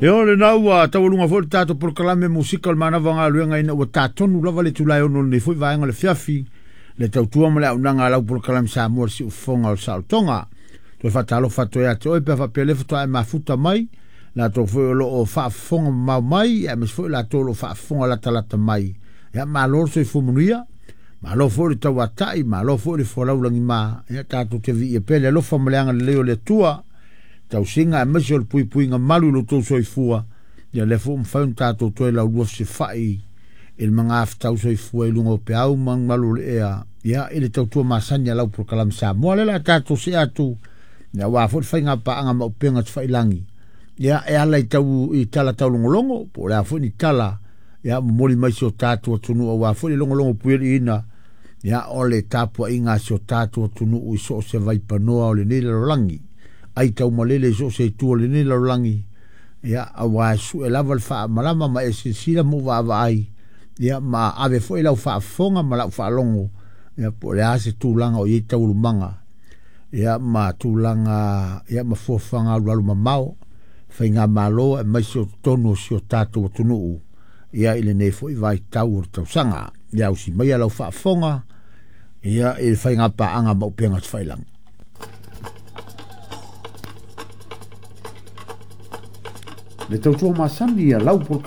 Ia o lena ua taualuga foi le tatou polokalame musika o le manava o galuega ina ua tatonu lava le itula e 6 o lenei foi vaega o le afiafi le tautua ma le auaunaga a lau polokalame Samoa le siufofoga o le saolotoga. Toe faatalofa atu ia te oe pe a faapea lea faatoa e mafuta mai, latou foi o lo o faafofoga mamao mai, aemaise foi latou o lo o faafofoga latalata mai. Ia malo le soifua manuia, malo foi le tauatai, malo foi le folau lagima. Ia tatou te viia pea le alofa ma le agalelei o le Atua, tausiga aemaise o le puipuiga malu i lo outou soifua. Ia lea foi ua mafai ona tatou toe laulua fesilafai i le magafetau soifua i luga o peau ma malu o le ea, ia i le tautua masani a lau polokalame Samoa. Lea o le a tatou see atu, ia aua foi le faiga paaga ma upega tafailagi, ia e ala i tau i tala taulogologo, po o le a foi ni tala, ia momoli mai si o tatou atunuu aua foi le logologo puialiiina, ia o le tapuaiga a si o tatou atunuu i so o se vaipanoa o lenei lalolagi, ai taumalele i so o se itu o lenei lalolagi, ia aua e sue lava le faamalama ma e silasila ma ou vaavaai, ia ma ave foi lau faafofoga ma lau faalogo, ia po o le a se tulaga o i ai taualumaga, ia ma tulaga, ia ma fuafuaga alualu mamao, faigamalo aemaise o totonu o si o tatou atunuu, ia i lenei foi vaitau o le tausaga. Ia ausi maia lau faafofoga, ia i le faiga paaga ma upega tafailagi. Le tautua masani a lau polokalame.